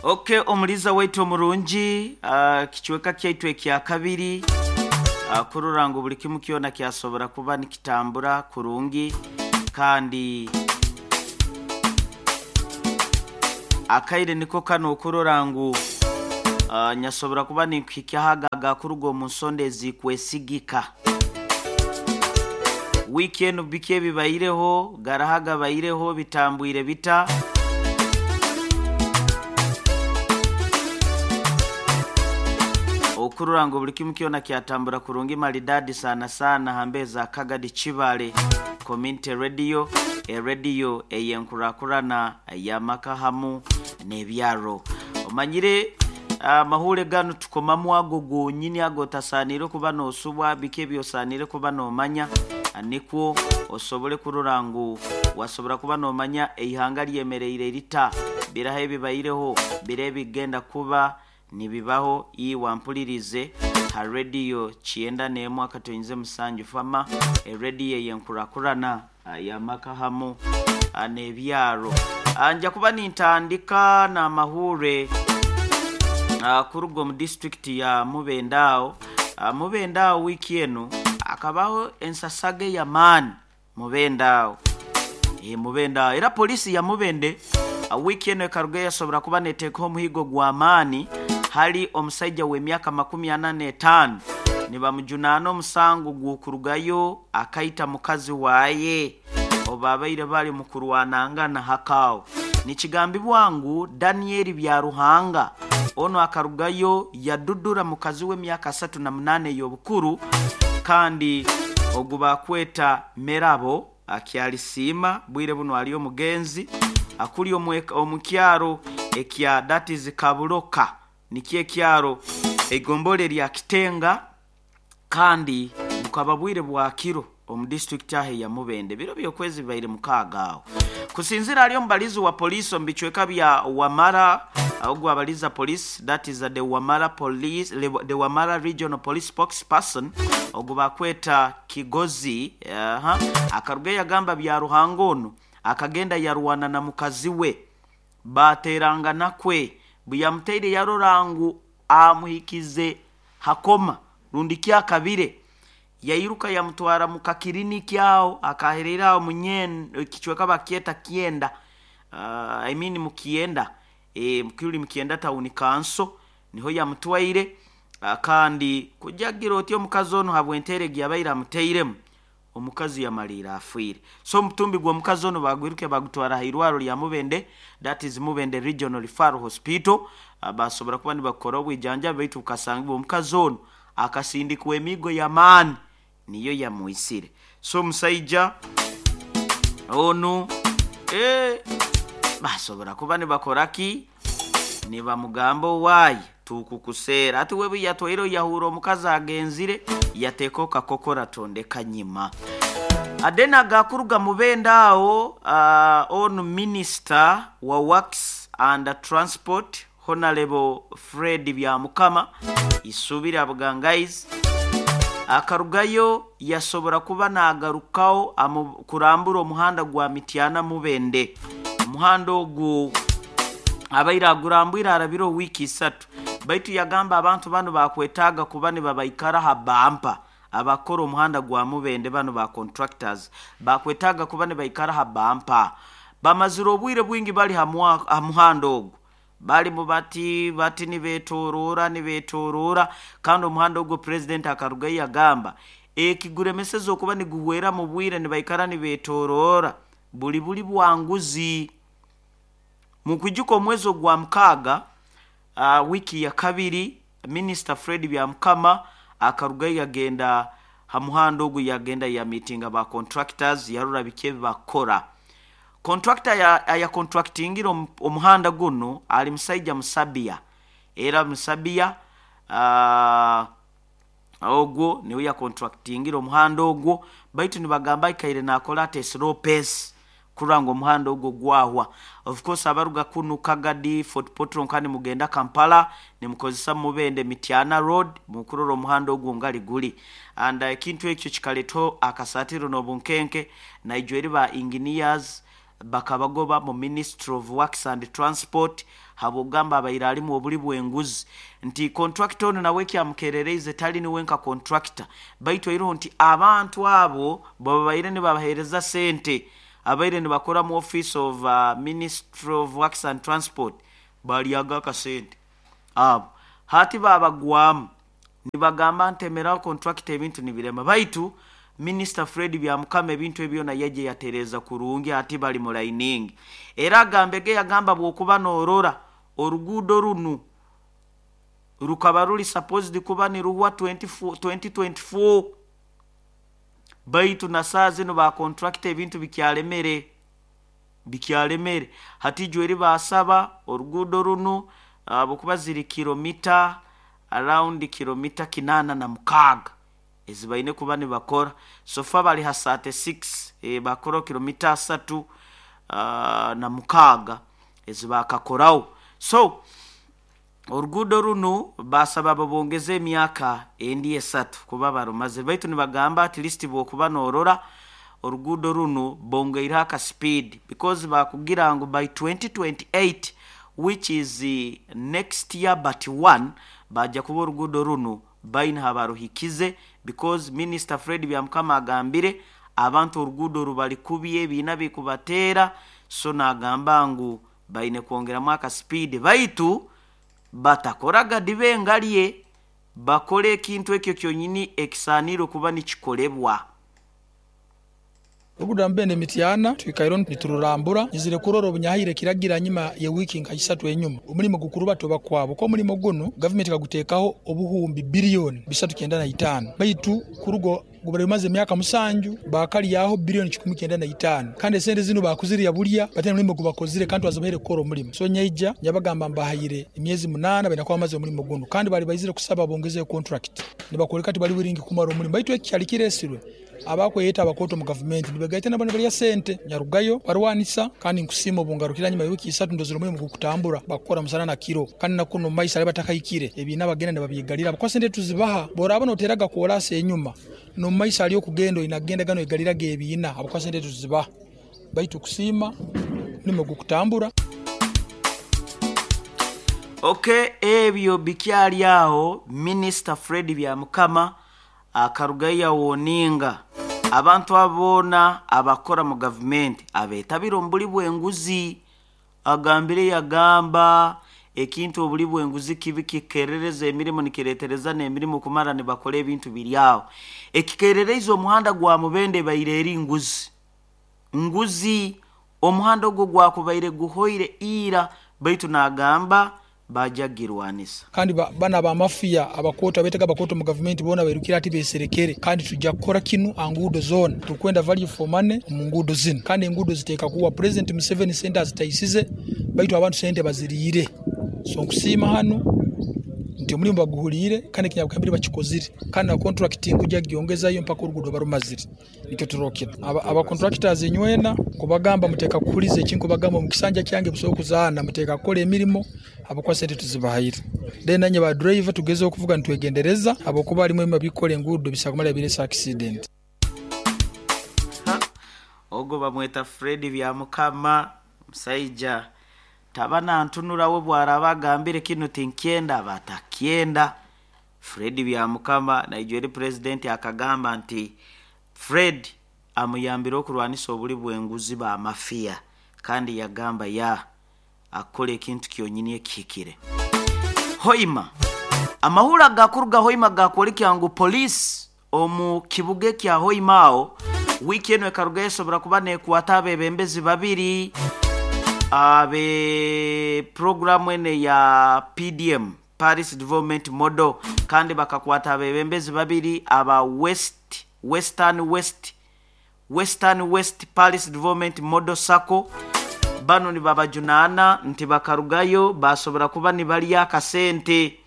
Ok, omuliza waitu omurungi, kicweka kyaitu ekyakabiri, kurora ngu buli kimu kyona kyasobora kuba nikitambura kurungi kandi akaire niko kanu okurora ngu nyasobora kuba ninkuhikyaho ago agakuruga omu nsonda ezikwesigika. Wiiki enu biki ebibaireho, garaho agabaireho, bitambwire bita? Okurora ngu buli kimu kyona kyatambura kurungi maridadi sana sana ha mbeho za Kagadi Kibale Community Radio, erediyo ey'enkurakurana y'amaka hamu n'ebyaro. Omanyire amahuure ganu tukomamu ago gonyini agotasaaniire kuba n'osubwa, biki eby'osaaniire kuba n'omanya nikwo osobole kurora ngu wasobora kuba n'omanya eihanga lyemereire lita, biraha ebibaireho, biraha ebigenda kuba nibibaho. Iwe ampulirize ha rediyo kyenda n'emwe akatoinze musanju fama, erediyo ey'enkurakurana y'amaka hamu n'ebyaro. Nja kuba nintandika n'amahuure kuruga omu disiturikiti ya Mubende aho. Mubende aho wiiki enu hakabaho ensasaga ey'amaani Mubende aho. Mubende aho. Era poliisi ya Mubende wiiki enu ekarugayo yasobora kuba neteekaho omuhiigo gw'amaani hali omusaija w'emyaka makumi ana n'etaano nibamujunaana omusango gw'okurugayo akaita mukazi waaye obu baabaire bali omu kurwanangana hakaho. Nikigambibwa ngu Daniel Byaruhanga onu akarugayo yadudura mukazi we emyaka asatu na munaana ey'obukuru kandi ogu baakweta Merabo Akyalisiima bwire bunu ali omugenzi akuli omu kyaro ekya that is Kabuloka nikyo ekyaro eigombolola erya Kitenga kandi bukaba bwire bwa kiro omu disiturikiti aho eya Mubende biro by'okwezi bibaire mukaaga aho. Kusinzira ahari omubalizi wa poliisi omu bicweka bya Wamara ogu abaliza police that is the Wamara police the Wamara regional police spokesperson ogu bakweta Kigozi akarugayo yagamba Byaruhanga onu akagenda yarwana na mukazi we baaterangana kwe buyamutaire yarora ngu amuhikize ha koma rundi ki akabire yairuka yamutwara mu kakiriniki aho akahereire aho kicweka bakyeta Kyenda I mean mu Kyenda kiri mu Kyenda town council niho yamutwaire kandi kujagira oti omukazi onu habw'enteera egi yabaire amutairemu omukazi yamaliire afiire. So omutumbi gw'omukazi onu baagwiruke baagutwara ha irwaro lya Mubende that is Mubende Regional Referral Hospital baasobora kuba nibakukora obwijanjabi baitu bukasangibwa omukazi onu akasindikwa emiigo y'amaani niyo yamwisire. So omusaija onu eeh baasobora kuba nibakora ki? Nibamugamba owaaye tukukuseera. Hati we buyatwaireho yahuura omukazi agenzire yateekaho kakokora tondeka nyima. Then agakuruga Mubende aho onu minisita wa Works and Transport Honarebo Fred Byamukama Isuubiri Abugangaizi akarugayo yasobora kuba nagarukaho kurambura omuhanda gwa Mityana Mubende. Omuhanda ogu abaire agurambwire harabireho wiiki isatu baitu yagamba abantu banu bakwetaaga kuba nibabaikara ha bampa abakukora omuhanda gwa Mubende banu ba contractors bakwetaaga kuba nibaikara ha bampa. Bamazire obwire bwingi bali ha muhanda ogu balimu bati bati nibetoroora nibetoroora kandi omuhanda ogwo Purezidenti akarugayo yagamba ekiguremeseze okuba niguhweramu bwire nibaikara nibetoroora buli buli bwanguzi. Mukwijuka omwezi ogwa mukaaga wiiki ya kabiri Minisita Fred Byamukama akarugayo yagenda ha muhanda ogu yagenda yamiitinga ba contractors yarora biki ebi bakukora. Contractor ayakontraktingire omuhanda gunu ali musaija Musabia era Musabia ogwo niwe yakontraktingire omuhanda ogwo baitu nibagamba aikaire nakora ati slow pace kurora ngu omuhanda ogwo gwahwa. Of course abaruga kunu Kagadi, Fort Portal nka nimugenda Kampala nimukozesa Mubende Mityana Road mukurora omuhanda ogwo ngali guli and ekintu ekyo kikaletaho akasatiro n'obunkenke naijweri ba engineers bakabagoba mu Ministry of Works and Transport. Habw'okugamba abaire alimu obuli bw'enguzi nti kontrakita onu nawe ekyamukerereize tali niwe nka kontrakita, baitu airoho nti abantu abo bwebabaire nibabahereza sente abaire nibakora mu office of Ministry of Works and Transport balyaga akasente abo hati babagwamu nibagamba ntemeraho kontrakita ebintu nibirema baitu Minisita Fred Byamukama ebintu ebi byona yaija yatereeza kurungi hati bali mu layiningi. Era agambege yagamba bwokuba norora oruguudo runu rukaba ruri supposed kuba niruhwa 2024 baitu na saaha zinu ba kontrakita ebintu bikyalemere bikyalemere. Hati ijo eri baasaba oruguudo runu habwokuba ziri kilomita around kilomita 86 ezi baine kuba nibakora. So far bari ha 36, bakoraho kilomita asatu na mukaaga ezi baakakoraho. So oruguudo runu baasaba babongeze emyaka endi esatu kuba barumazire baitu nibagamba at least bwokuba norora oruguudo runu bongeireho aka speed because bakugira ngu by 2028 which is next year but one baija kuba oruguudo runu baine habaruhikize because Minisita Fred Byamukama agambire abantu oruguudo rubari kubi ebiina bikubateera so nagamba ngu baine kwongeramu aka speed baitu batakora gadiba engarye bakore ekintu ekyo kyonyini ekisaaniire okuba nikikolebwa. Oruguudo rwa Mubende Mityana twikaireho nitururambura. Nyizire kurora obunyahaire ekiragiro anyima ye wiiki nka isatu enyuma. Omulimo gukuruba toba kwabo. Ko omulimo gunu gavumenti ekaguteekaho obuhumbi biliyoni bisatu kyenda na itaano baitu kuruga gubaire gumaze emyaka musanju baakalyaho biliyoni kikumi kyenda na itaano kandi esente zinu baakuzirya bulya bataine mulimo gubakozire kandi twazibahaire kukora omulimo. So nyaija nyabagamba mbahaire emyezi munaana baine kuba bamaze omulimo gunu kandi baali baizire kusaba bongezeyo kontrakiti nibakwoleka tibali wiringi kumara omulimo baitu eki kyali kiresirwe Abakweyeta abakooto omu gavumenti nibegaita nabo nibalya sente. Nyarugayo barwanisa kandi nkusiima obungarukire hanyima y'ewiiki isatu ndozire omulimo gukutambura bakukora musana na kiro kandi na kunu omu maiso hali batakahikire ebiina bagenda nibabyegalira habwokuba sente tuzibaha. Bworaba noteraga koraasi enyuma n'omu maiso hali okugenda oine kugendaga noyegaliraga ebiina habwokuba sente tuzibaha. Baitu kusiima omulimo gukutambura. Ok ebyo bikyali aho, Minisita Fred Byamukama Akarugayo yawoninga abantu abo boona abakora mu gavumenti abetabire omu buli bw'enguzi. Agambire yagamba, Ekintu obuli bw'enguzi kibi kikerereza emirimo nikiretereza n'emirimo kumara nibakora ebintu biri aho. Ekikerereize omuhanda gwa Mubende ebaire eri nguzi. Nguzi. Omuhanda ogwo gwakubaire guhoire ira baitu nagamba baja kugirwanisa. Kandi banu aba mafia abakooto abetega abakooto omu gavumenti boona bairukire hati beserekere kandi twija kukora kinu aha nguudo zoona. Turukwenda value for money omu nguudo zinu kandi enguudo ziteeka kuwa Pulezidenti Museveni sente azitaisize baitu abantu sente baziriire. So nkusiima hanu nti omulimo baguhuliire kandi ekinyabugambire bakikozire kandi na kontrakiti nkuja kugyongezayo mpaka oruguudo barumazire. Nikyo turokire. Aba contractors inywena nkubagamba muteeka kuhuliza ekinkubagamba omu kisanja kyange busaho kuzaana muteeka kukora emirimo habwokuba sente tuzibahaire. Then nanye ba driver tugezeho kuvuga nitwegendereza habwokuba harimu ebimwe ebikukora enguudo bisobora kumara birese accident. Ogwo bamweta Fred Byamukama omusaija taba nantunura we bwaraba agambire kinu tinkyenda aba atakyenda. Fred Byamukama naija eri Pulezidenti akagamba nti Fred amuyambire okurwanisa obuli bw'enguzi ba mafiya kandi yagamba ya akukora ekintu kyonyini ekihikire. Hoima. Amahurre agakuruga Hoima gakworekya ngu poliisi omu kibuga ekya Hoima aho wiiki enu ekarugayo esobora kuba nekwata abebembezi babiri abe puroguramu enu eya PDM, Paris Development Model, kandi bakakwata abebembezi babiri aba West Western West Western West Paris Development Model Sacco. Banu nibabajunaana nti bakarugayo basobora kuba nibalya akasente.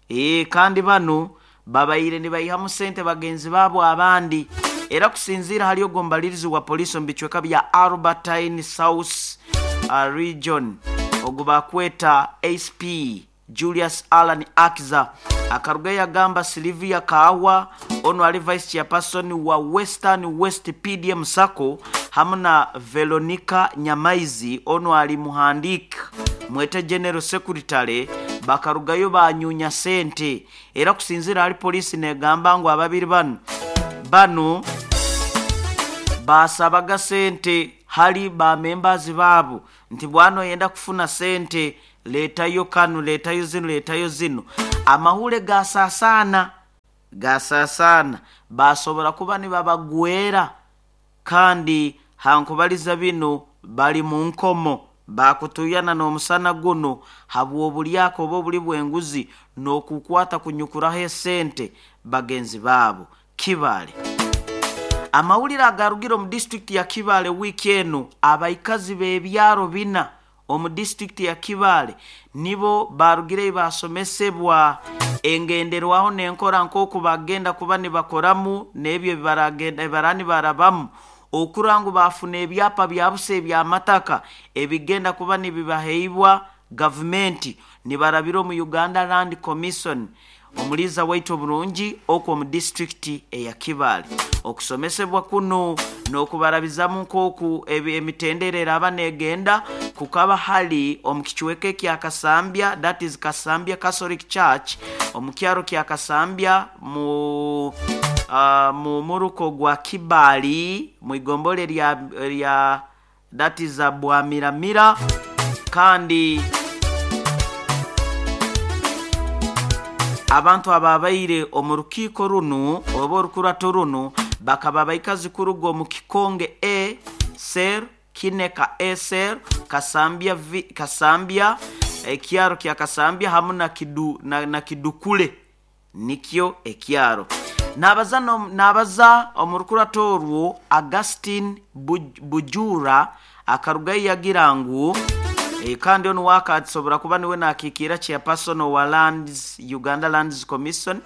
Ee, kandi banu babaire nibaihamu sente bagenzi baabo abandi. Era kusinziira hali ogwo omubalirizi wa poliisi omu bicweka bya Albertine South Region ogu baakweta ACP Julius Allan Akiza akarugayo yagamba Sylvia Kaahwa onu ali Vice Chairperson wa Western West PDM Sacco hamu na Veronica Nyamaizi onu ali muhandiiki Mwete General Secretary bakarugayo banyunya sente. Era kusinzira hali poliisi negamba ngu ababiri banu basabaga sente hali ba members baabo nti bwana oyenda kufuna sente leetayo kanu, leetayo zino, leetayo zino. Amahule gasaasana basobora kuba nibabagwera, kandi hankubaliza bino bali mu nkomo bakutuyana n'omusana guno habw'obulyaka oba obuli bw'enguzi n'okukwata kunyukuraho esente bagenzi baabo. Kibaale, amawulire agarugire omu disitulikiti ya Kibaale wiiki eno, abaikazi b'ebyaro bina omu disitulikiti ya Kibaale nibo barugireyo basomesebwa engenderwaho n'enkora nk'oku bagenda kuba nibakoramu n'ebyo ebibarani barabamu okurora ngu bafuna ebyapa bya busa eby'amataka ebigenda kuba nibibaheibwa gavumenti nibarabira omu Uganda Land Commission. Omuliiza waitu oburungi okwo omu disitulikiti eya Kibaale, okusomesebwa kuno n'okubarabizamu nk'oku emitendera eraba negenda kukaba hali omu kicweka ekya Kasambya, that is Kasambya Catholic Church, omu kyaro kya Kasambya mu muruko gwa Kibaali mu igombole lya that is Bwamiramira. Kandi abantu ababaire omu rukiiko runu oba orukurato runu bakaba baikazi kuruga omu Kikonge A Cell, Kineka A Cell, Kasambya V, Kasambya ekyaro kya Kasambya hamu na Kidukule nikyo ekyaro. Nabaza omu rukurato orwo Augustine Bujura akarugayo yagira ngu kandi onu wakasobora kuba niwe nakiikira chairperson wa Lands, Uganda Lands Commission,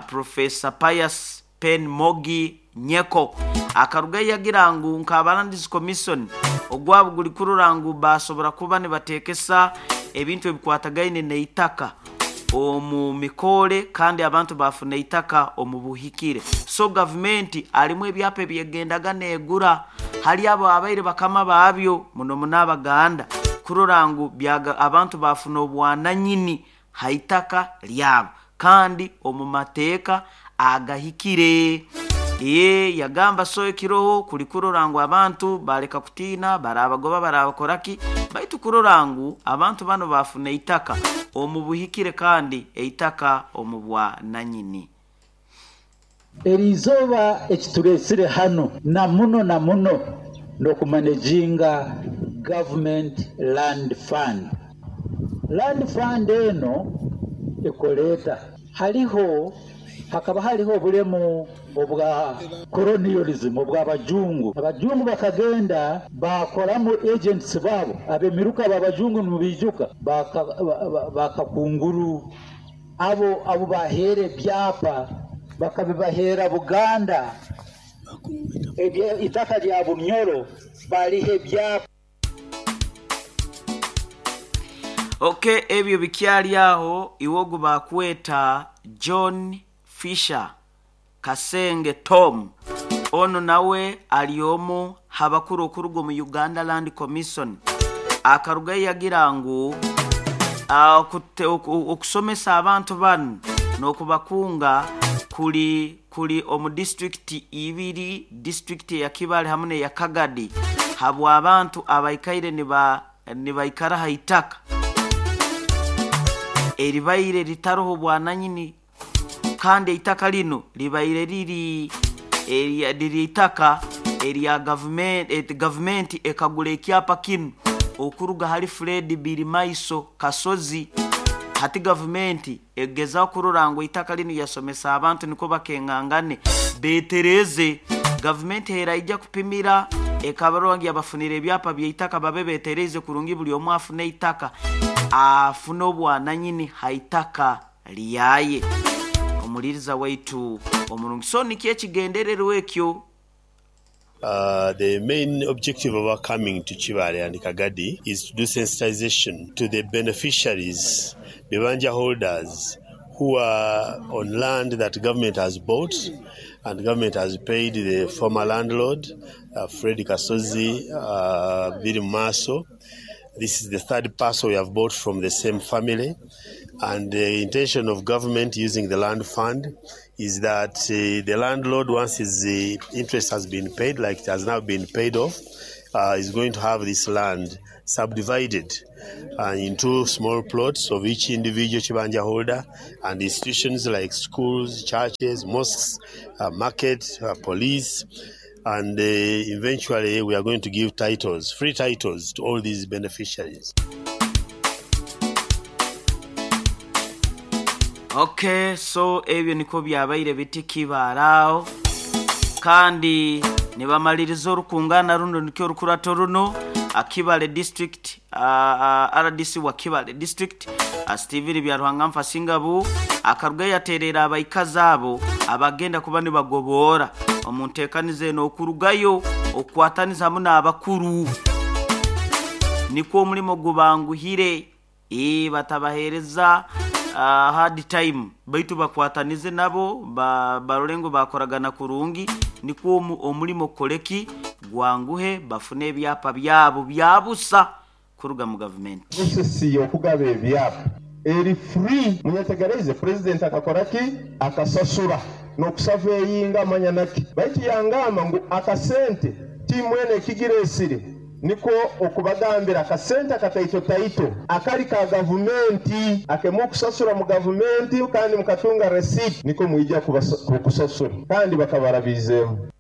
Professor Pius Pen Mogi Nyeko akarugayo yagira ngu nk'aba Lands Commission ogwabo guli kurora ngu basobora kuba nibateekesa ebintu ebikwatagaine n'eitaka omu mikore kandi abantu bafuna eitaka omu buhikire. So gavumenti alimu ebyapa ebyegendaga negura hali abo abaire bakama baabyo muno muno Abaganda kurora ngu abantu bafuna obwananyini haitaka lyabo kandi omu mateeka agahikire. Yagamba so ekiroho kuli kurora ngu abantu baleka kutiina, barabagoba barabakoraki, baitu kurora ngu abantu bano bafuna eitaka omu buhikire kandi eitaka omu bwananyini. Eriizooba ekitureesire hano na muno n'okumanejinga government land fund. Land fund eno ekoleeta haliho hakaba haliho obulemu obwa colonialism obw'abajungu. Abajungu bakagenda bakoramu agents baabo ab'emiruka b'abajungu nimubiijuka bakakunguru abo baheera ebyapa bakabibaheera Buganda itaka lya Bunyoro baliha ebyapa. Okay, ebyo bikyali aho iwogu bakweta John Fisher Kasenge Tom ono nawe ali omu habakuru okuruga omu Uganda Land Commission akarugayo yagira ngu okusomesa abantu bano n'okubakunga kuli omu disitulikiti ibiri, disitulikiti ya Kibaale hamu n'eya Kagadi, habwa abantu abaikaire nibaikara ha itaka eribaire ritaroho bwananyini, kandi eitaka lino libaire riri itaka erya gavumenti ekagura ekyapa kinu okuruga hali Fred Birimaiso Kasozi. Hati gavumenti egezaho kurora ngu eitaka lino yasomesa abantu niko bakengangane betereze. Gavumenti eraija kupimira ekabarora ngu yabafunira ebyapa by'eitaka babe betereze kurungi buli omu afune eitaka afune obwananyini haitaka lyaye. Omuliriza waitu omurungi, so nikyo ekigendererwa ekyo. The main objective of our coming to Kibaale and Kagadi is to do sensitization to the beneficiaries, bibanja holders who are on land that government has bought and government has paid the former landlord, Fred Kasozi, Biri Maso. This is the third parcel we have bought from the same family. And the intention of government using the land fund is that the landlord, once his interest has been paid, like it has now been paid off, is going to have this land subdivided into small plots of each individual Kibanja holder, and institutions like schools, churches, mosques, market, police, and eventually we are going to give titles, free titles to all these beneficiaries. Okay, so ebyo niko byabaire biti kibaraawo kandi nibamaliriza orukungana runo nikyo orukurato runo Kibale district, RDC wa Kibale district, Steven Byaruhanga Nfasingabu akaruga yaterera abaikazi abo abagenda kuba nibagoboora omu nteekaniza eno okurugayo okukwataniza hamu n'abakuru nikwo omulimo gubanguhire, batabaheereza hard time baitu bakwatanize nabo barole ngu bakoragana kurungi nikwo omulimo koleki gwanguhe bafune ebyapa byabo byabusa kuruga mu gavumenti. Process y'okugaba ebyapa eri free. Munyetegereze, president akakora ki? Akasasura n'okusava eyinga amanya naki, baitu yangamba ngu akasente timwene ekigiresire niko okubagambira akasente akataito taito akali ka gavumenti akemu okusasura mu gavumenti kandi mukatunga receipt niko mwija kukusasura kandi bakabarabizeemu.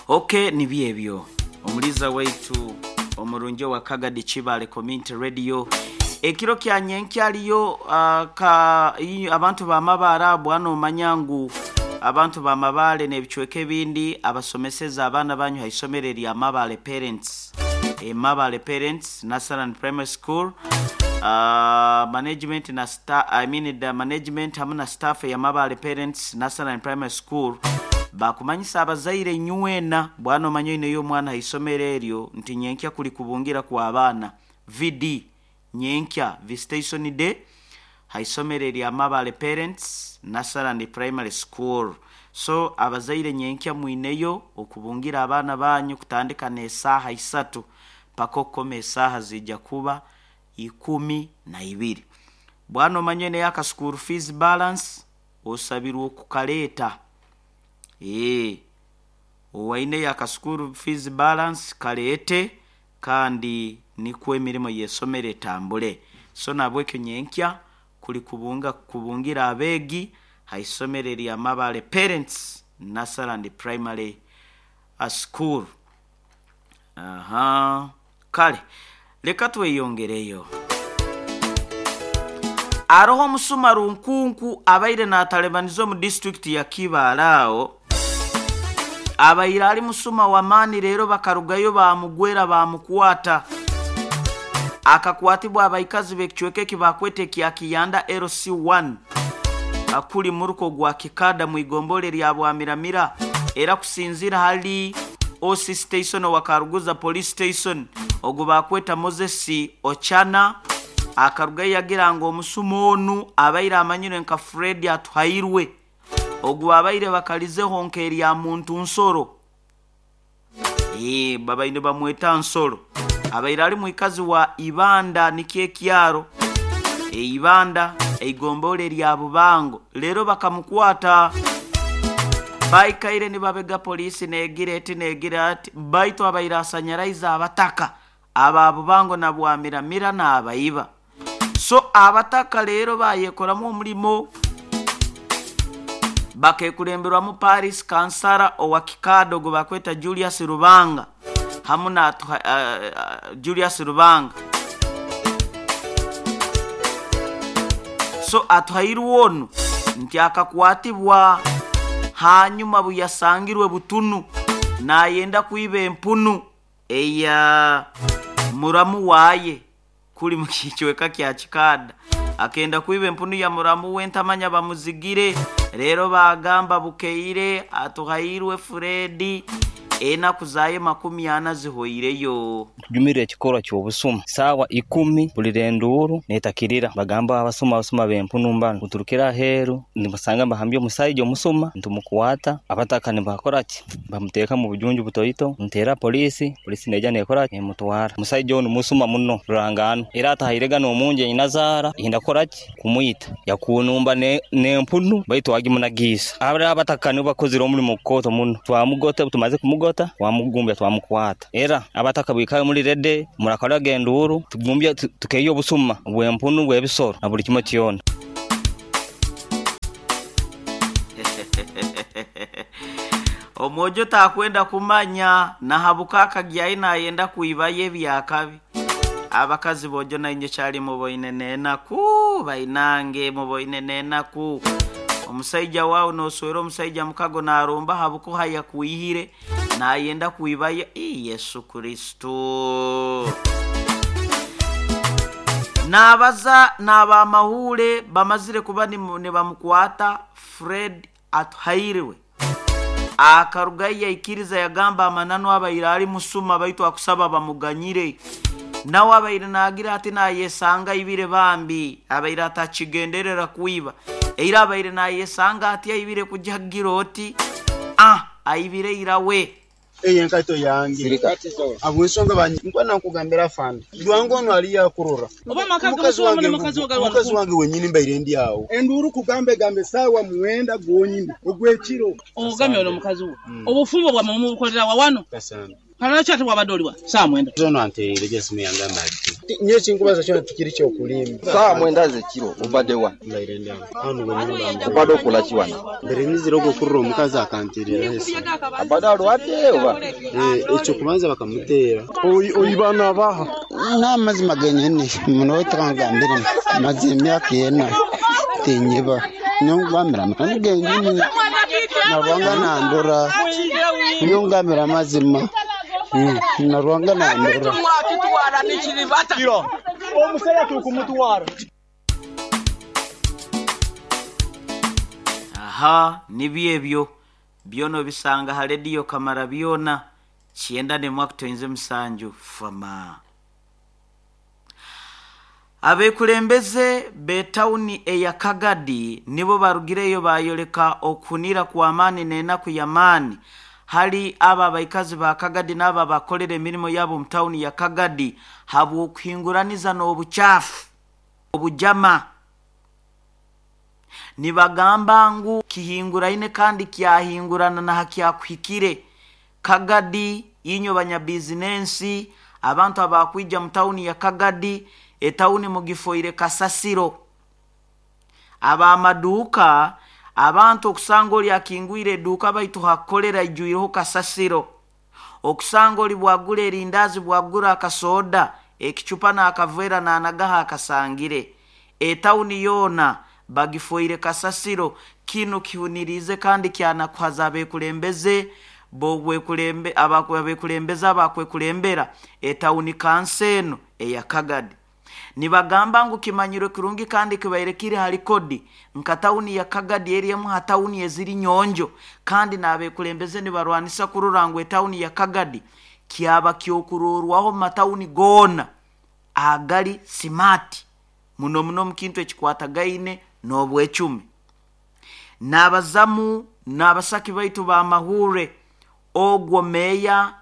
Okay, nibyo ebyo omuliza waitu omurungi wa Kagadi Kibale Community Radio. Ekiro kya nyenkya aliyo abantu b'amabaare bwana omanya ngu abantu b'amabaare n'ebicweka ebindi abasomeseza abaana banyu haisomero erya Mabaare Parents, Mabaare Parents Nursery Primary School, management na I mean the management hamu na staff ya Mabaare Parents Nursery Primary School bakumanyisa abazaire nywena bwana omanya oineyo omwana haisomero eryo nti nyenkya kuli kubungira kwa abaana VD nyenkya visitation day haisomero erya Mabaare Parents Nursery Primary School. So abazaire nyenkya mwineyo okubungira abaana banyu kutandika n'esaaha 3 paka okukoma esaaha zijja kuba 12. Bwana omanya oineyo aka school fees balance osabirwe okukaleeta. Owaine aka school fees balance kaleete kandi nikwo emirimo y'esomero etambule. So nabwekyo nyenkya kuli kubungira abeegi haisomero erya Mabaare Parents Nursery Primary School. Aha, kale leka tweyongereyo. Aroho omusuma runkunku abaire n'atalebaniza omu district ya Kibaale aho abaire ali musuma w'amaani rero bakarugayo bamugwera bamukwata. Akakwatibwa abaikazi b'ekicweka eki bakwete kya Kiyanda LC1 akuli muruko gwa Kikada mwigombole lya Bwamiramira, era kusinzira hali OC station wa Karuguza police station ogu bakweta Moses Ochana akaruga yagira ngo omusuma onu abaire amanyire nka Fred Atuhairwe ogu abaire bakalizeho nkeri ya muntu nsoro, babaine bamweta nsoro, abaire ali mwikazi wa Ibanda nikye kyaro Ibanda eigombole lya Bubango. Lero bakamukwata baikaire nibabega polisi negira eti negira ati baitu abaire asanyaraiza abataka aba Bubango na Bwamiramira n'abaiba. So abataka lero bayekoramu omulimo bakekulemberwamu Paris Kansara owa Kikado gwe bakweta Julius Rubanga hamu na Julius Rubanga. So Atuhairwe onu nti akakwatibwa hanyuma buyasangirwe butunu nayenda kuiba empunu eya muramu waye kuli mukichweka kya Kikada, akenda kuiba empunu ya muramu we ntamanya bamuzigire. Rero bagamba bukeire Atuhairwe Fredi Enaku zayo 40 zihoireyo. Tujumire ekikorwa ky'obusuma saawa 10 mpulira enduuru neetakirira bagamba abasuma abasuma b'empunu mbanu kuturukira aheeru nibasanga mbahambya omusaija omusuma ntumukwata abataka nibakora ki bamuteeka mu bujunju butoito nteera poliisi poliisi neija neekora ki nemutwara omusaija onu musuma muno rurangano era atahairega n'omunju einazaara yenda kukora ki kumwita yakunumba n'empunu baitu agimunagiisa abari abataka nibo bakozire omurimo kukooto muno twamugota tumaze kumugota twamugumbya twamukwata era abataka bwikare muri rede murakoraga enduuru tugumbya tukeeya obusuma bw'empunu bw'ebisoro na buli kimwe kyona. Omwojo takwenda kumanya nahabuka akagyayi nayenda kuibayo ebyakabi. Abakazi bojo nainye kyali muboine nenaku bainange muboine nenaku. Omusaija wawe noswera omusaija mukago naromba habuko hayakuihire nayenda kuibayo. Yesu Kristo. Nabaza n'abamahule bamazire kuba nibamukwata Fred Atuhairwe. Akarugayo yaikiriza yagamba amananu abaire ali musuma baitu akusaba bamuganyire. Nawe abaire nagira ati nayesanga ibire bambi abaire atakigenderera kuiba. Eira abaire nayesanga ati aibire kujagira oti aibire irawe. Eye nkaito yange abwensonga banyi nkwana nkugambira fanda lwango ono ali yakurora mukazi wange wenyini mbaire ndi awo enduru kugambe gambe sawa muwenda gwonyini ogwekiro ogamye ono mukazi wo obufumbo bwa mumu bukolera wa wano kalala kyati bwabadde oliwa saa 9 zono anterere jesimu yange amali nye kinkubaza kyona tikiri kyokulimba saa 9 zekiro obadde wa mbaire ndi awo ano wenyini obadde okola ki wano mbere nizira ogokurira omukazi akanterera esi abadde alwadde oba ekyo kubanza bakamuteera oibana baha n'amazima genyini muno tukangambire maze emyaka 4 tinyiba nyongambira amazima genyini narwanga nandura nyongambira amazima narwanga nandura omusaya tukumutwara. Aha nibyo ebyo byono bisanga ha rediyo Kamara byona 91.7 fama. Abekulembeze betawuni eya Kagadi nibo barugireyo bayoleka okunira kwa amani n'enaku y'amaani hali aba abaikazi ba Kagadi n'aba bakolera emirimo yabo mu tawuni ya Kagadi habw'okuhinguraniza n'obuchafu obujama. Nibagamba ngu kihinguraine kandi kyahingurana na hakyakuhikire. Kagadi inyo banyabizinensi abantu abakwija mu tawuni ya Kagadi etawuni mugifoire kasasiro. Abamaduka abantu okusanga oli akingwire eduka baitu hakolera ijuireho kasasiro. Okusanga oli bwagula erindazi bwagula akasoda ekicupa n'akavera n'anagaha akasangire. Etawuni yona bagifoire kasasiro. Kino kihunirize kandi kyanakuhaza abekulembeze bogwekulembe abakulembeza abakwekulembera etawuni kanseno eya Kagadi. Nibagamba ngu kimanyirwe kirungi kandi kibaire kiri hali kodi nka tawuni ya Kagadi erimu ha tawuni eziri nyonjo kandi n'abekulembeze nibarwanisa kurora ngu etawuni ya Kagadi kyaba kyokurorwaho matawuni gona agali simati muno muno mukintu ekikwatagaine n'obwecumi. N'abazamu n'abasaki baitu ba mahure ogwo meya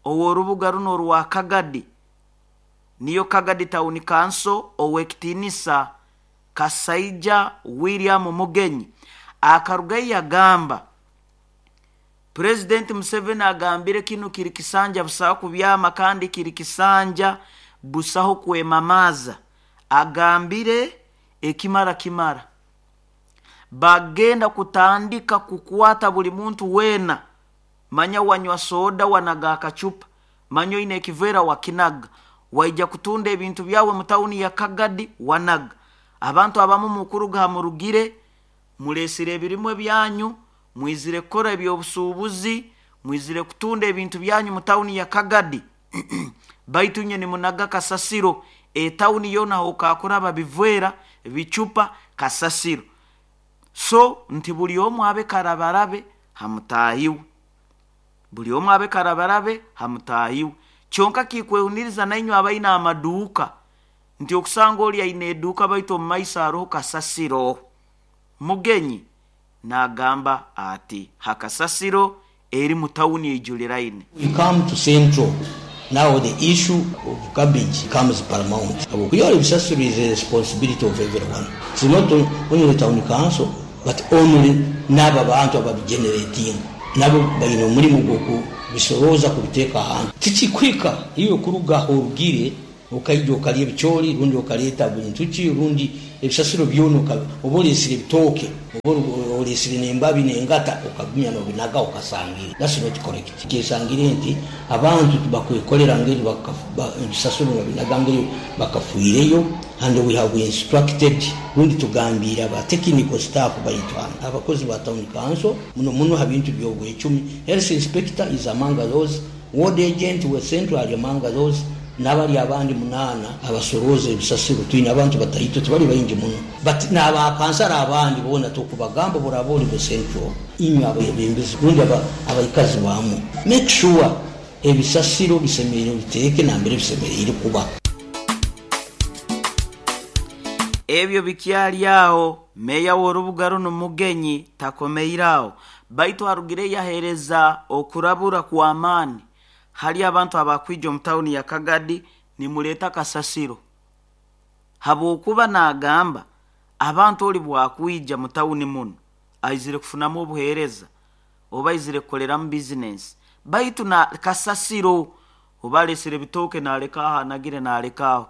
ow'orubuga runo rwa Kagadi niyo Kagadi Town Council owekitinisa Kasaija William Mugenyi akarugayo yagamba President Museveni agambire kino kiri kisanja busaho kubyama kandi kiri kisanja busaho kwemamaza. Agambire ekimara kimara bagenda kutandika kukwata buli muntu wena manya wanywa soda wanaga akachupa manyo ine ekivera wakinaga waija kutunda ebintu byawe mu tawuni ya Kagadi wanaga. Abantu abamu mukuruga murugire mulesire ebirimwe byanyu mwizire kukora ebyobusuubuzi mwizire kutunda ebintu byanyu mu tawuni ya Kagadi baitu nye nimunaga kasasiro. Etawuni yona okakora babivwera bichupa kasasiro. So nti buli omu abe karabarabe hamutahiwe. Buli omu abe karabarabe ha mutaahi we. Kyonka kikwehuniriza nainywe abaine amaduuka nti okusanga oli aine eduuka baitu omu maiso haroho kasasiro. Mugenyi n'agamba ati ha kasasiro eri mu tawuni eijuliraine. We come to central now the issue of garbage becomes paramount habwokuba ebisasiro is a responsibility of everyone it's not only town council but only naabo abantu ababigeneratinga nabo baine omurimo gw'okubisorooza kubiteeka ahantu. Tikikuhika iwe kuruga ah'orugire Okaija okalya ebicoori rundi okaleeta bintu ki rundi ebisasiro byona oba oleesire ebitooke oba oleesire n'embabi n'engata okagumya n'obinaga okasangire. That's not correct. Kyesangire nti abantu tibakwekolera ngeri ebisasiro nibabinaga ngeri bakafiireyo and we have instructed rundi tugambiire aba technical staff baitu hanu abakozi ba town council muno muno ha bintu by'obwecumi, health inspector is among those, Ward agent we Central ali among those nabali abandi munaana abasorooza ebisasiro. Twine abantu bataito tibali baingi muno but naba kansara abandi boona tokubagamba obu oraaba oli we Central. Inywe abebembezi rundi abaikazi baamu make sure ebisasiro bisemeriire obiteeke nambere bisemeriire kuba. Ebyo bikyali aho, Meeya w'orubuga runu Mugenyi takomeire aho baitu arugire yaheereza okurabura kw'amaani hali abantu abakwija omu tawuni ya Kagadi nimuleeta kasasiro habwokuba n'agamba abantu oli bwakwija mu tawuni munu aizire kufunamu obuheereza oba aizire kukoleramu bizinensi baitu na kasasiro oba aleesire ebitooke naleka aho anagire naleka aho.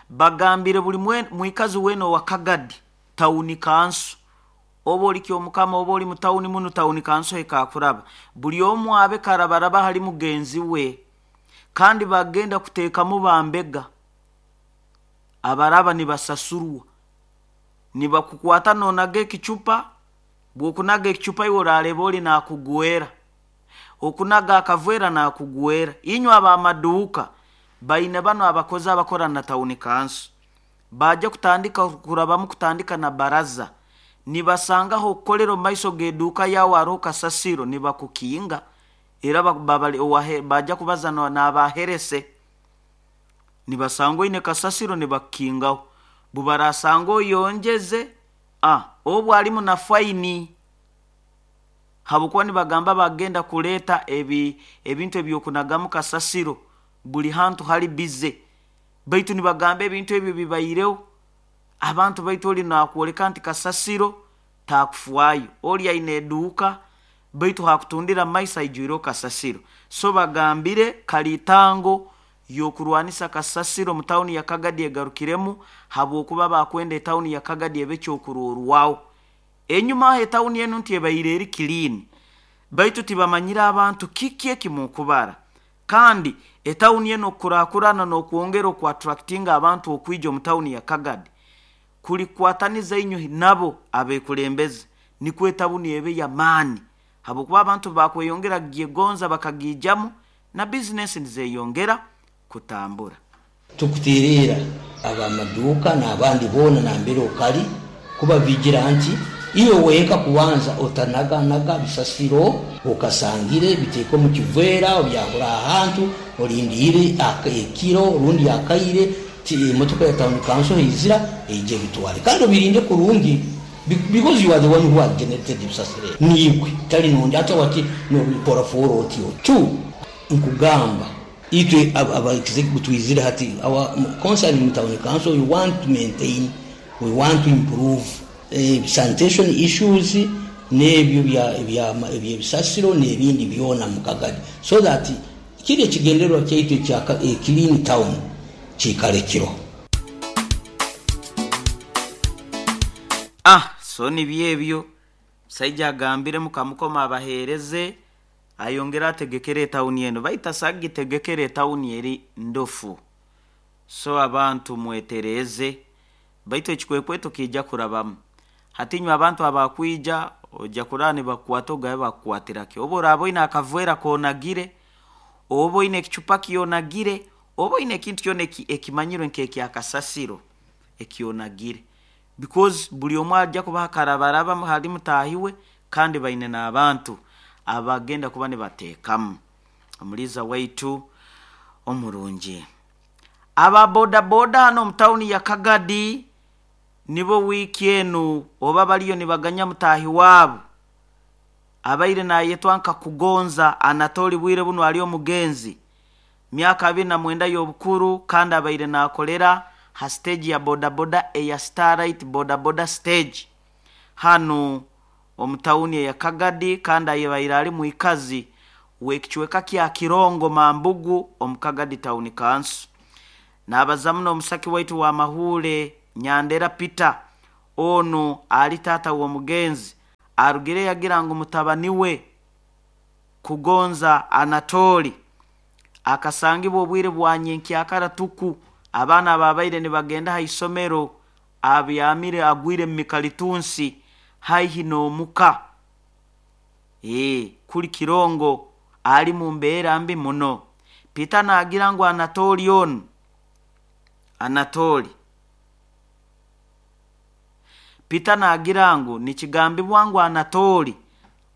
Bagambire buli mwikazi weena owa Kagadi tawuni kanso oba oli Kyomukama oba oli mu tawuni munu tawuni kanso ekakuraba buli omu abe karabaraba hali mugenzi we kandi bagenda kuteekamu bambega abaraba nibasasurwa nibakukwata nonaga ekicupa bw'okunaga ekicupa iwe orareeba oli naakugwera okunaga akavera naakugwera. Inywe ab'amaduuka baine banu abakozi abakora na tawuni kanso baija kutandika kurabamu kutandika na baraza nibasangaho okukolera omu maiso g'eduuka yaawe haroho kasasiro nibakukinga era baija kubaza n'abaherese nibasanga oine kasasiro nibakukingaho bubarasanga oyonjeze obu alimu na faini habwokuba nibagamba bagenda kuleeta ebintu eby'okunagamu kasasiro buli hantu hali bize baitu nibagamba ebintu ebyo bibaireho abantu baitu oli nakwoleka nti kasasiro taakufwayo oli aine eduuka baitu hakutundira maiso aijwireho kasasiro. So bagambire kaliitango y'okurwanisa kasasiro mu tawuni ya Kagadi egarukiremu habwokuba bakwenda etawuni ya Kagadi ebe ekyokurorwaho. Enyuma aho etawuni enu nti ebaire eri kiliini baitu tibamanyire abantu kiki ekimukubara kandi etawuni enu okukurakurana n'okwongera oku-attractinga abantu okwija omu tawuni ya Kagadi kulikwataniza inywe nabo abekulembeze nikwo etawuni ebe y'amaani habwokuba abantu bakweyongera kugyegonza bakagiijamu na bizinensi nizeyongera kutambura. Tukuteerera ab'amaduuka n'abandi boona nambere okali kubabigira nti iwe wenka kubanza otanaganaga bisasiro okasangire biteeke omu kiveera obyahura ahantu olindiire ekiro rundi akaire emotoka ya town council eizira eije ebitwale kandi obirinde kurungi because you are the one who has generated ebisasiro ebi niiwe tali nondi ate wati nobikora for otyo. Two, nkugamba itwe aba executive twizire hati our concern in town council we want to maintain, we want to improve sanitation issues n'ebyo eby'ebisasiro n'ebindi byona mu Kagadi so that kiri ekigendererwa kyaitu ekya clean town kiikale kiroho. So nibyo ebyo omusaija agambire mukamukoma abaheereze ayongere ategekere etawuni enu baitu asaga kugitegekera etawuni eri ndofu. So abantu mwetereeze baitu ekikwekweto kiija kurabamu. Hati inywe abantu abakwija oija kuraba nibakukwata ogabe bakukwatira ki? Obu oraaba oine akaveera koonagire, oba oine ekicupa kyonagire, oba oine ekintu kyona ekimanyirwe nk'ekyakasasiro ekyonagire because buli omu aija kubaha karabaraba hali mutaahi we kandi baine n'abantu abagenda kuba nibateekamu. Omuliiza waitu omurungi. Aba bodaboda hanu omu tawuni ya Kagadi nibo wiiki enu oba bariyo nibaganya mutaahi waabo abaire naayetwa nka Kugonza Anatoli bwire bunu ari omugenzi myaka 29 y'obukuru kandi abaire naakorera ha stage ya bodaboda eya Starlight Bodaboda Stage hanu omu tawuni eya Kagadi kandi abaire ari mwikazi w'ekicweka kya Kirongo Mambugu omu Kagadi Town Council. Naabaza muno omusaki waitu wa Mahuure Nyandera Peter onu ari taata w'omugenzi arugire yagira ngu mutabani we Kugonza Anatoli akasangibwa obwire bwa nyenkyakara tuku abaana ababaire nibagenda ha isomero abyamire agwire mu mikalitunsi haihi n'omuka kuli Kirongo ali mu mbeera mbi muno. Peter naagira ngu Anatoli onu Anatoli Peter naagira ngu nikigambibwa ngu Anatoli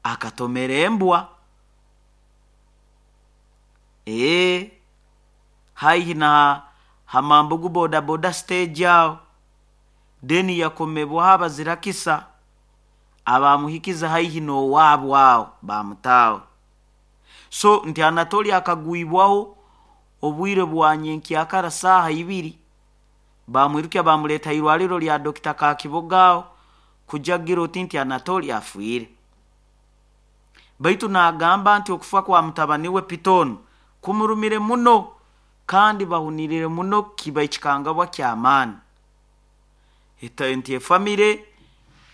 akatomera embwa haihi na Hamambugu bodaboda stage aho then yakomebwaho abazirakisa abamuhikiza haihi n'owaabo aho bamutaaho. So nti Anatoli akagwibwaho obwire bwa nyenkyakara saaha ibiri bamwirukya bamuleeta irwariro lya Dr. Kakiboga aho kujagira oti nti Anatoli afiire. Baitu naagamba nti okufa kwa mutabani we Pitonu kumurumire muno kandi bahunirire muno kiba ekikangabwa ky'amaani. Nti efamire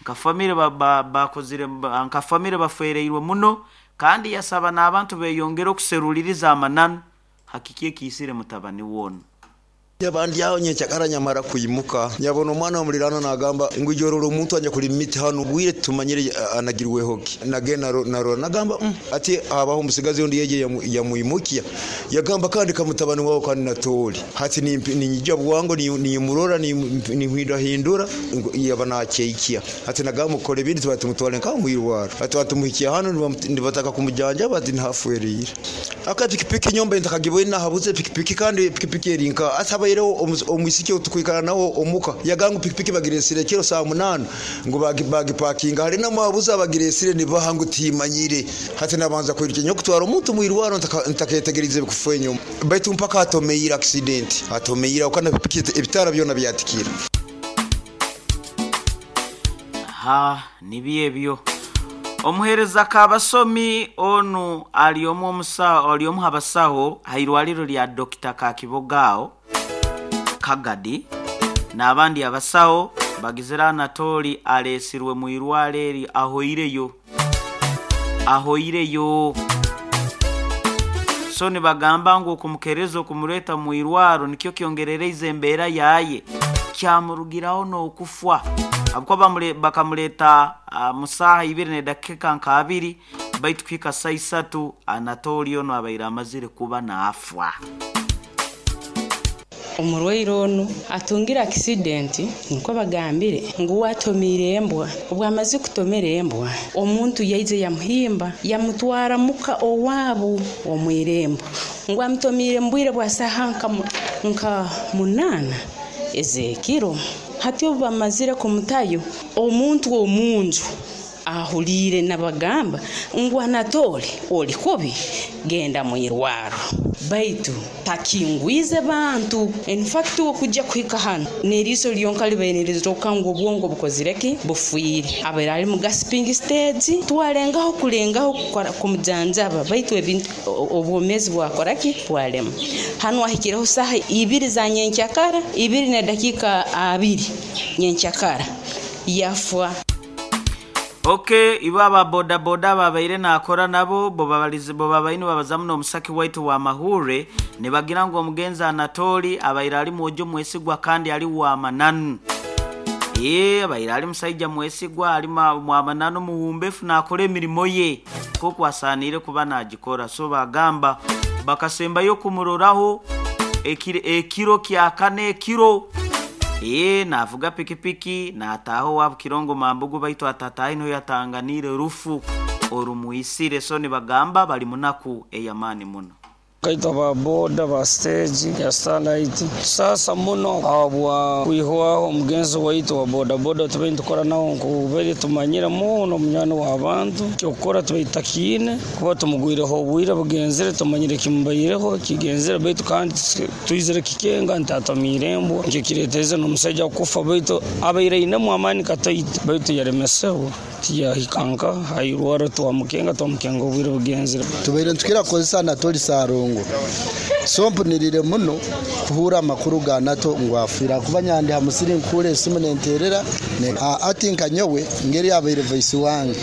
nka famire bakozire nka famire bafereirwe muno kandi yasaba n'abantu beyongere okuseruliriza amananu hakiki ekiisire mutabani woonu. Abandi aho nyenkyakara nyamara kwimuka nyabona omwana w'omulirano nagamba ngu ijorora omuntu anya kuli miti hano bwire tumanyire anagirweho ki nagenda narora nagamba ati abaho omusigazi ondi yeje yamwimukia yagamba kandi kamutabani wawe kandi natoli hati ninyija bwango nimurora nimhindahindura yaba nakeikia hati nagamba mukore ibindi tuba tumutwale nka mwirwaro ati batumuhikia hano nibataka kumujanja bati ntafuerire aka pikipiki nyomba ntakagibwe nahabuze pikipiki kandi pikipiki erinka ataba rero omwisiki otukwikana nawo omuka yagangu pikipiki bagiresire kiro saa 8 ngo bagipakinga hari namwabuza bagiresire nibahangu timanyire hati nabanza kwirukenya kutwara omuntu mwirwaro ntakayetegerize bikufa enyuma baitu mpaka atomeira accident atomeira ukana pikipiki ebitara byona byatikira. Ha nibi ebyo. Omuhereza kabasomi onu ali omu omusawo ali omu habasawo hairwaliro lya Dr. Kakibogao Kagadi n'abandi abasawo bagizira Anatoli alesirwe mu irwale eri ahoireyo. So nibagamba ngu okumukereza okumureta mu irwaro nikyo kyongerereize embeera yaye kyamurugiraho n'okufwa abukuba bakamureta musaha 2:02 baitu kwika saa 3 Anatoli ono abaire amazire kuba naafwa. Omurwaire onu atungire accident nko bagambire ngu watomire embwa obwamaze kutomera embwa omuntu yaize yamuhimba yamutwara muka owaabo omwirembo ngu amutomire mbwire bwa saha nka 8 ezekiro. Hati obu bamazire kumutayo omuntu omunju ahulire nabagamba ngu Anatoli oli kubi genda mwirwaro baitu takingwize bantu. In fact okujja kuhika hano neriso lyonka libaine ngu obwongo bukozireki bufuire abaire ali mu gasping stage twalengaho kulengaho kumujanjaba baitu ebintu obwomezi bwakoraki bwalema. Hano ahikireho saha 2 za nyenkyakara 2:02 nyenkyakara yafwa. Okay, iba boda boda babaire nakora nabo bo babalizi bo babaine babazamu n'omusaki waitu wa Mahure nibagira ngu omugenzi Anatoli abaire ali mwojo mwesigwa kandi ali wa mananu. Abaire ali musaija mwesigwa ali mwamananu muwumbefu nakora emirimo ye koko asanire kuba nagikora. So bagamba bakasembayo kumuroraho ekiro kya kane ekiro navuga pikipiki nataho wabu Kirongo Mambugu baitu atatahi no yatanganire rufu. Orumwisire. So nibagamba bali munaku ey'amaani muno. Kaitwa ba boda ba stage ya Starlight sasa muno abwa kwihwaho omugenzi waitu wa bodaboda tubaire nitukora nawo, nkubaire tumanyire muno munywani w'abantu. Kyokukora tubaire tutakiine kuba tumugwireho obwire bugenzere, tumanyire kimubaireho kigenzere, baitu kandi twizire kikenga nti atomiire embwa, nikyo kireeteze n'omusaija kufa, baitu abaire ainemu amaani kataito, baitu yalemesebwa tiyahika nka hairwara, twamukenga obwire bugenzere. Tubaire nitukira kukozesa Anatoli Sarongo, so mpunirire muno kuhura amakuru ga Nato ngu afiire, kuba nyandi ha musiri nkuhura esimu nenterera ati nka nyowe ngeri abaire vice wange.